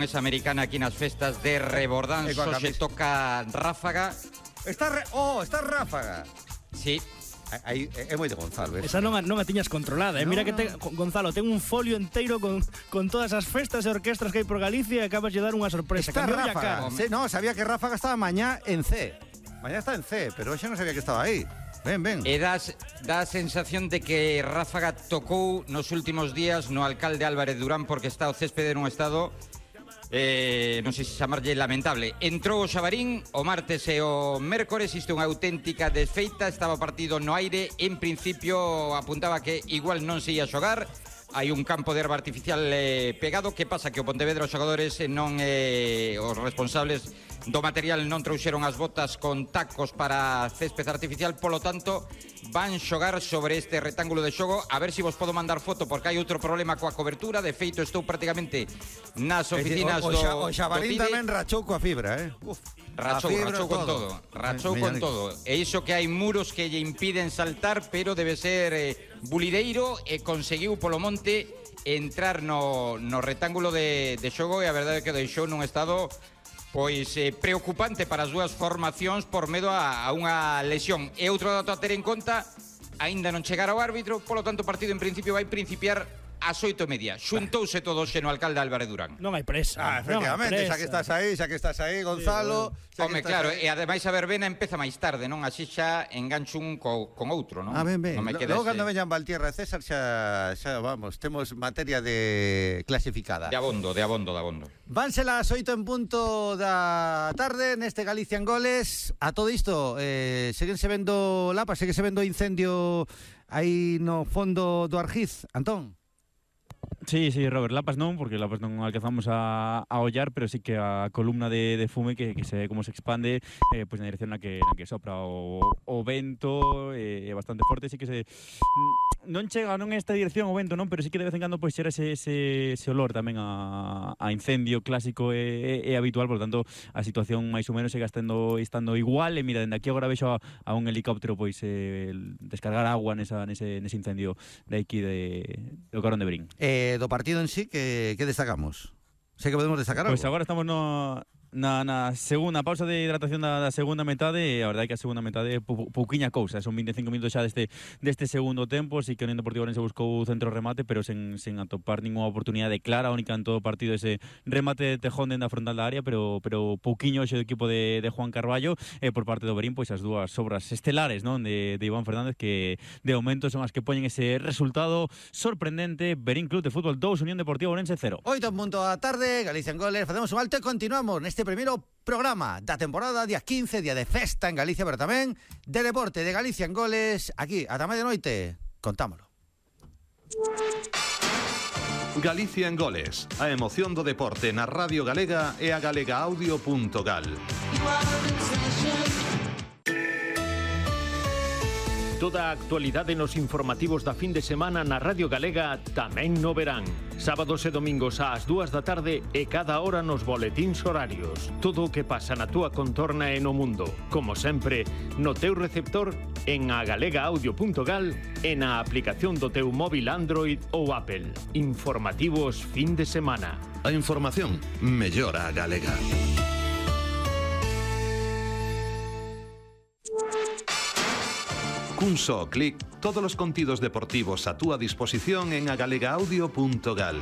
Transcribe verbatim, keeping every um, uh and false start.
Es americana aquí nas festas de Rebordán, só se toca Ráfaga. Está re... Oh, está Ráfaga. Sí. Aí é moi de Gonzalo, ¿ves? Esa non a, non a tiñas controlada, eh? No, Mira que te, no. Gonzalo, ten un folio enteiro con, con todas as festas e orquestras que hai por Galicia e acabas de dar unha sorpresa. Está Cambioulle a Ráfaga. cara. Sí, no, sabía que Ráfaga estaba mañá en C. Mañá está en C, pero xa non sabía que estaba aí. Ven, ven. E das, dá a sensación de que Ráfaga tocou nos últimos días no alcalde Álvarez Durán porque está o céspede nun estado... Eh, non sei se chamarlle lamentable. Entrou o Xabarín o martes e o mércores. Isto é unha auténtica desfeita. Estaba o partido no aire. En principio apuntaba que igual non se ia xogar. Hai un campo de herba artificial eh, pegado. Que pasa? Que o Pontevedra os xogadores non eh, os responsables do material non trouxeron as botas con tacos para césped artificial. Polo tanto, van xogar sobre este retángulo de xogo. A ver se si vos podo mandar foto, porque hai outro problema coa cobertura. De feito, estou prácticamente nas oficinas o, o, do O Xabarín do tamén rachou coa fibra, eh? Uf, Rachou, fibra, rachou con todo, rachou con todo. E iso que hai muros que lle impiden saltar, pero debe ser eh, bulideiro e conseguiu polo monte entrar no, no retángulo de, de xogo e a verdade é que deixou nun estado pois eh, preocupante para as dúas formacións por medo a, a unha lesión. E outro dato a ter en conta, aínda non chegar ao árbitro, polo tanto o partido en principio vai principiar ás oito e media. Xuntouse todo xe no alcalde Álvarez Durán. Non hai presa. Ah, efectivamente, xa que estás aí, xa que estás aí, Gonzalo. Sí, Home, claro, aí. E ademais a verbena empeza máis tarde, non? Así xa engancho un co, con outro, non? Ah, ben, ben. Non me Logo quedes, cando eh, veñan Valtierra e César xa, xa vamos, temos materia de clasificada. de abondo, de abondo, de abondo. Vanse las oito en punto da tarde neste Galicia en Goles. A todo isto, eh, seguense vendo lapas, seguense vendo incendio aí no fondo do Argiz, Antón. Sí, sí, Robert, lapas non, porque lapas non alcanzamos a, a ollar, pero sí que a columna de, de fume que, que se ve como se expande eh, pues na dirección na que, na que sopra o, o vento é eh, bastante forte, sí que se non chega non esta dirección o vento, non, pero sí que de vez en cando pois xera ese, ese, ese olor tamén a, a incendio clásico e, e, e habitual, por lo tanto a situación máis ou menos segue estando, estando igual, e mira, dende aquí agora vexo a, a un helicóptero pois eh, descargar agua nesa, nese, nese incendio de aquí de, do Carón de Brín. Eh, do partido en sí, que, que destacamos? Sei que podemos destacar algo. Pois agora estamos no, na, na segunda pausa de hidratación da, da segunda metade, e a verdade é que a segunda metade é pou, pouquiña cousa, son vinte e cinco minutos xa deste, deste segundo tempo. Si que o Unión Deportiva Ourense buscou centro remate, pero sen, sen atopar ninguna oportunidade clara, única en todo o partido ese remate de Tejón dentro da frontal da área, pero pero pouquiño xe do equipo de, de Juan Carballo, e por parte do Berín, pois as dúas obras estelares, non, de, de Iván Fernández, que de momento son as que poñen ese resultado sorprendente. Berín Club de Fútbol dos, Unión Deportiva Ourense cero. oito en punto da tarde, Galicia en Goles, facemos un alto e continuamos neste primeiro programa da temporada, día quince, día de festa en Galicia, pero tamén de deporte de Galicia en Goles, aquí, ata medianoite, contámolo. Galicia en Goles, a emoción do deporte na Radio Galega e a galegaaudio punto gal. Toda a actualidade nos informativos da fin de semana na Radio Galega tamén no verán. Sábados e domingos ás dúas da tarde e cada hora nos boletíns horarios. Todo o que pasa na túa contorna e no mundo. Como sempre, no teu receptor, en a galegaaudio punto gal e na aplicación do teu móvil Android ou Apple. Informativos fin de semana. A información mellora a galega. Cun só clic, todos os contidos deportivos a túa disposición en a galegaaudio punto gal.